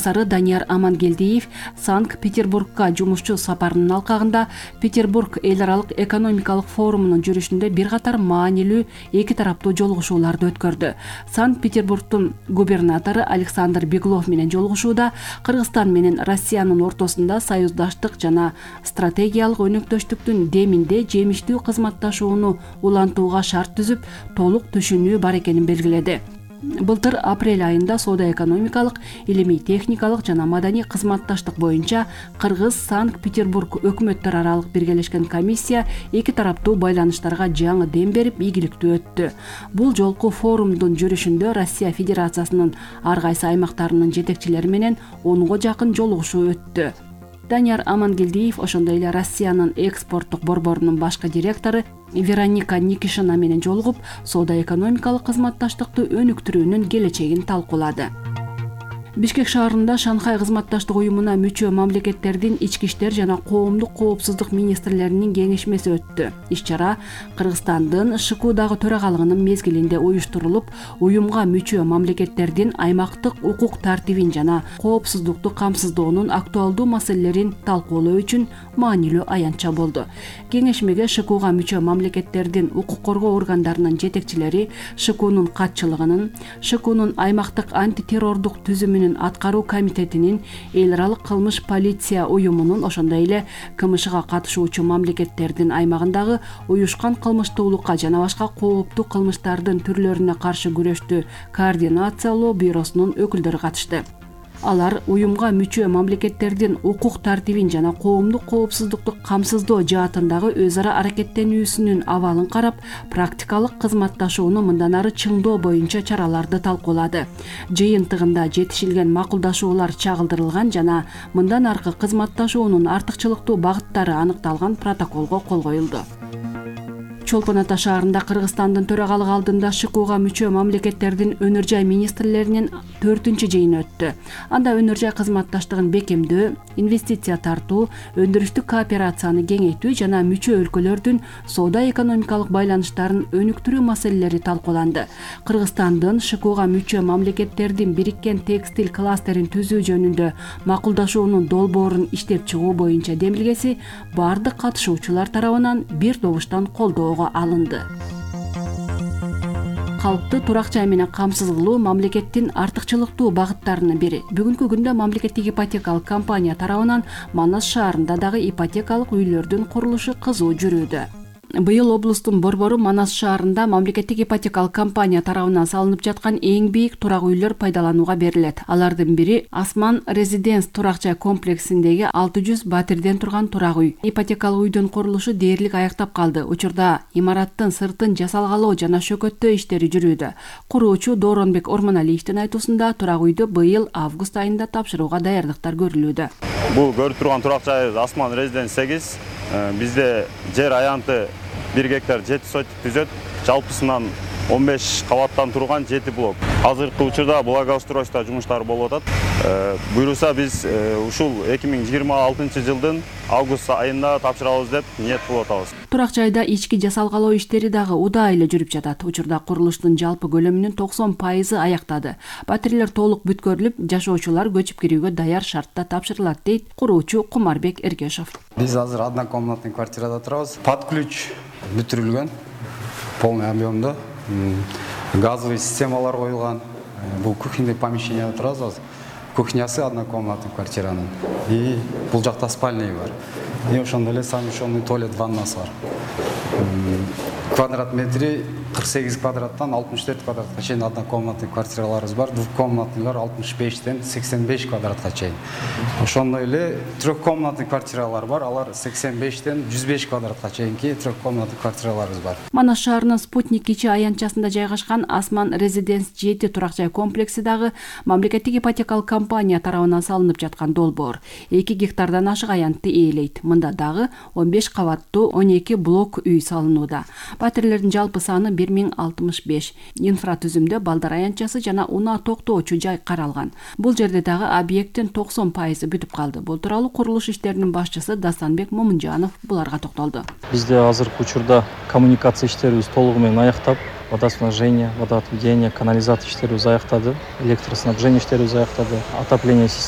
басары Данияр Амангелдиев Санкт-Петербургка жумушчу сапарынын алкагында Петербург эл аралык экономикалык форумунун жүрүшүндө бир катар маанилүү эки тараптуу жолугушууларды өткөрдү. Санкт-Петербургдун губернатору Александр Беглов менен жолугушууда Кыргызстан менен Россиянын ортосунда союздаштык жана стратегиялык өнөктөштүктүн деминде жемиштүү кызматташууну улантууга шарт түзүп, толук түшүнүү бар экенин белгиледи. Былтыр апрель айында соода-экономикалык, илимий-техникалык жана маданий кызматташтык боюнча Кыргыз Санкт-Петербург өкмөттөр аралык биргелешкен комиссия эки тараптуу байланыштарга жаңы дем берип, ийгиликтүү өттү. Бул жолку форумдун жүрүшүндө Россия Федерациясынын ар кайсы аймактарынын жетекчилери менен 10го жакын жолугушуу өттү. Данияр Амангелдиев ошондой эле Россиянын экспорттук борборунун башкы директору Вероника Никишина менен жолугуп, соода-экономикалык кызматташтыкты өнүктүрүүнүн келечегин талкуулады. Бишкек шаарында Шанхай кызматташтык уюмуна мүчө мамлекеттердин ички иштер жана коомдук коопсуздук министрлеринин кеңешмеси өттү. Иш-чара Кыргызстандын ШКУдагы төрагалыгынын мезгилинде уюштурулуп, уюмга мүчө мамлекеттердин аймактык укук тартибин жана коопсуздукту камсыздоонун актуалдуу маселелерин талкуулоо үчүн маанилүү аянтча болду. Кеңешмеге ШКУга мүчө мамлекеттердин укук коргоо органдарынын жетекчилери, ШКУнун катчылыгынын, ШКУнун аймактык антитеррордук түзүмүнүн аткаруу комитетинин, эл аралык кылмыш полиция уюмунун, ошондой эле КМШга катышуучу мамлекеттердин аймагындагы уюшкан кылмыштуулукка жана башка кооптуу кылмыштардын түрлөрүнө каршы күрөштү координациялоо бюросунун өкүлдөрү катышты. Алар уюмга мүчө мамлекеттердин укук тартибин жана коомдук коопсуздукту камсыздоо жаатындагы өз ара аракеттенүүсүнүн абалын карап, практикалык кызматташууну мындан ары чыңдоо боюнча чараларды талкуулады. Жыйынтыгында жетишилген макулдашуулар чагылдырылган жана мындан аркы кызматташуунун артыкчылыктуу багыттары аныкталган протоколго кол коюлду. Чолпон Ата шаарында Кыргызстандын төрагалыгы алдында ШКУга мүчө мамлекеттердин өнөр жай министрлеринин 4-чү жыйыны өттү. Анда өнөр жай кызматташтыгын бекемдөө, инвестиция тартуу, өндүрүштүк кооперацияны кеңейтүү жана мүчө өлкөлөрдүн соода-экономикалык байланыштарын өнүктүрүү маселелери талкууланды. Кыргызстандын ШКУга мүчө мамлекеттердин бириккен текстиль кластерин түзүү жөнүндө макулдашуунун долбоорун иштеп чыгуу боюнча демилгеси бардык катышуучулар тарабынан бир добуштан колдоого алынды. Калкты турак жай менен камсыз кылуу мамлекеттин артыкчылыктуу багыттарынын бири. Бүгүнкү күндө мамлекеттик ипотекалык компания тарабынан Манас шаарында дагы ипотекалык үйлөрдүн курулушу кызуу жүрүүдө. Быйыл облустун борбору Манас шаарында мамлекеттик ипотекалык компания тарабынан салынып жаткан эң бийик турак үйлөр пайдаланууга берилет. Алардын бири Асман Резиденс турак жай комплексиндеги 600 батирден турган турак үй. Ипотекалык үйдүн курулушу дээрлик аяктап калды. Учурда имараттын сыртын жасалгалоо жана шөкөттөө иштери жүрүүдө. Куруучу Дооронбек Ормоналиевдин айтуусунда турак үйдү быйыл август айында тапшырууга даярдыктар көрүлүүдө. Бул көрүп турган турак жай Асман Резиденс 8. Бизде жер аянты 1 гектар 7 сотик түзөт. Жалпысынан 15 кабаттан турган 7 блок. Азыркы учурда благоустройство жумуштары болуп атат. Буйруса биз ушул 2026 жылдын август айында тапшырабыз деп ниет кылып атабыз. Турак жайда ички жасалгалоо иштери дагы удаа эле жүрүп жатат. Учурда курулуштун жалпы көлөмүнүн 90% аяктады. Батирлер толук бүткөрүлүп, жашоочулар көчүп кирүүгө даяр шартта тапшырылат, дейт куруучу Кумарбек Эргешов. Биз азыр однокомнатный квартирада турабыз. Под ключ бүтүрүлгөн, полный объемдо. Газовый системалар коюлган. Бул кухнялык помещенияда турабыз. Кухнясы однокомнатный квартиранын. И бул жакта спальный бар. И ошондой эле совмещенный туалет, ваннасы бар. Квадрат метри 48 квадраттан 64 квадратка чейин однокомнатный квартираларыбыз бар. Двухкомнатныйлар 65тен 85 квадратка чейин. Ошондой эле трехкомнатный квартиралар бар. Алар 85тен 105 квадратка чейинки трехкомнатный квартираларыбыз бар. Манас шаарынын Спутник кичи аянтчасында жайгашкан Асман Резиденс 7 турак жай комплекси дагы мамлекеттик ипотекалык компания тарабынан салынып жаткан долбоор. 2 гектардан ашык аянтты ээлейт. Мында дагы 15 кабаттуу 12 блок үй салынууда. Батирлердин жалпы саны 1065. Инфратүзүмдө балдар аянтчасы жана унаа токтоочу жай каралган. Бул жерде дагы объекттин 90% бүтүп калды. Бул тууралуу курулуш иштеринин башчысы Дастанбек Момунжанов буларга токтолду. Бизде азыркы учурда коммуникация иштерибиз толугу менен аяктап, водоснабжение, водоотведение, канализация иштерибиз аяктады, электроснабжение иштерибиз аяктады, отопление системасы